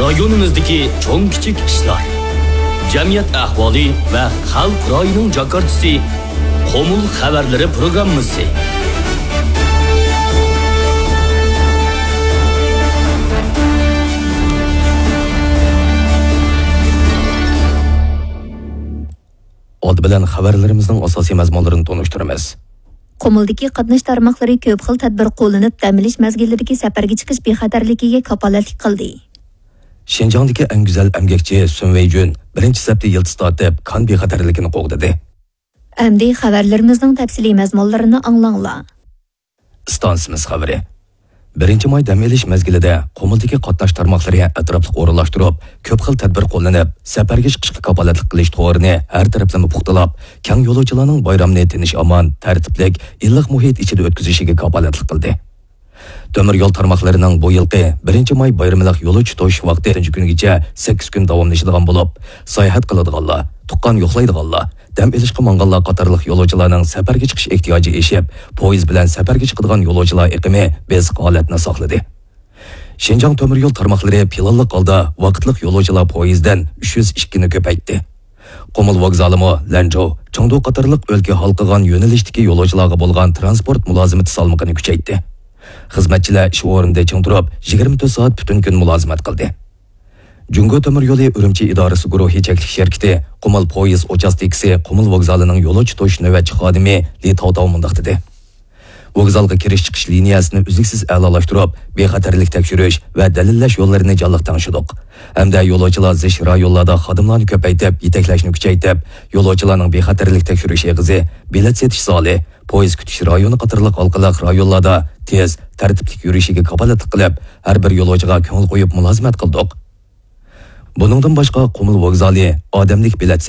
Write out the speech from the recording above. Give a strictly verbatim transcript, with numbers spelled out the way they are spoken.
رايونىمىزدىكى چوڭ كىچىك ئىشلار، جەمئىيەت ئەھۋالى ۋە خەلق رايىنىڭ جاكارتىسى، قۇمۇل خەۋەرلىرى پروگراممىسى. ئالدى بىلەن خەۋەرلىرىمىزنىڭ ئاساسىي مەزمۇنلىرىنى تونۇشتۇرىمىز. قۇمۇلدىكى قاتناش تارماقلىرى كۆپ خىل تەدبىر قوللىنىپ، دەم ئېلىش مەزگىللىرىدىكى سەپەرگە چىقىش بىخەتەرلىكىگە كاپالەتلىك قىلدى. شىنجاڭدىكى ئەڭ گۈزەل ئەمگەكچى سۈن ۋېيجۈن بىرىنچى سەپتە يىلتىز تارتىپ، كان بىخەتەرلىكىنى قوغدىدى. ئەمدى خەۋەرلىرىمىزنىڭ تەپسىلىي مەزمۇنلىرىنى ئاڭلاڭلار. ئىستانسىمىز خەۋىرى. بىرىنچى ماي دەم ئېلىش مەزگىلىدە قۇمۇلدىكى قاتناش تارماقلىرى ئەتراپلىق ئورۇنلاشتۇرۇپ، كۆپ خىل تەدبىر قوللىنىپ، سەپەرگە چىقىشقا كاپالەتلىك قىلىش تورىنى ھەر تەرەپلىمە پۇختىلاپ، كەڭ يولۇچىلارنىڭ بايرامنى تىنچ-ئامان، تەرتىپلىك، ئىللىق مۇھىت ئىچىدە ئۆتكۈزۈشىگە كاپالەتلىك قىلدى. تۆمۈر يول تارماقلىرىنىڭ بۇ يىلقى بىرىنچى ماي بايرىملىق يولۇچى توشۇش ۋاقتى تۆتىنچى كۈنگىچە سەككىز كۈن داۋاملىشىدىغان بولۇپ، ساياھەت قىلىدىغانلار، تۇغقان يوقلايدىغانلار، دەم ئېلىشقا ماڭغانلار قاتارلىق يولۇچىلارنىڭ سەپەرگە چىقىش ئېھتىياجى ئېشىپ، پويىز بىلەن سەپەرگە چىقىدىغان يولۇچىلار ئېقىمى بېسىق ھالەتنى ساقلىدى. شىنجاڭ تۆمۈر يول تارماقلىرى پىلانلىق ھالدا ۋاقىتلىق يولۇچىلار پويىزىدىن ئۈچ يۈز ئىككىنى كۆپەيتتى. قۇمۇل ۋوگزالىمۇ لەنجۇ، چېڭدۇ قاتارلىق ئۆلكە ھالقىغان يۆنىلىشتىكى يولۇچىلارغا بولغان تىرانسپورت مۇلازىمىتى سالمىقىنى كۈچەيتتى. خىزمەتچىلەر ئىش ئورنىدا چىڭ تۇرۇپ، يىگىرمە تۆت سائەت پۈتۈن كۈن مۇلازىمەت قىلدى. جۇڭگو تۆمۈر يولى ئۈرۈمچى ئىدارىسى گۇرۇھى چەكلىك شىركىتى قۇمۇل پويىز ئۇچاستكىسى قۇمۇل ۋوگزالىنىڭ يولۇچى توشۇش نۆۋەتچى خادىمى لى تاۋتاۋ مۇنداق دېدى: ۋوگزالغا كىرىش چىقىش لىنىيەسىنى ئۈزلۈكسىز ئەلالاشتۇرۇپ، بىخەتەرلىك تەكشۈرۈش ۋە دەلىللەش يوللىرىنى جانلىق تەڭشىدۇق ھەمدە يولۇچىلار زىچ رايونلاردا خادىملارنى كۆپەيتىپ، يېتەكلەشنى كۈچەيتىپ، يولۇچىلارنىڭ بىخەتەرلىك تەكشۈرۈش ئېغىزى، بېلەت سېتىش زالى، پويىز كۈتۈش رايونى قاتارلىق ھالقىلىق رايونلاردا تېز، تەرتىپلىك يۈرۈشىگە كاپالەتلىك قىلىپ، ھەر بىر يولۇچىغا كۆڭۈل قويۇپ مۇلازىمەت قىلدۇق. بۇنىڭدىن باشقا، قۇمۇل ۋوگزالى ئادەملىك بېلەت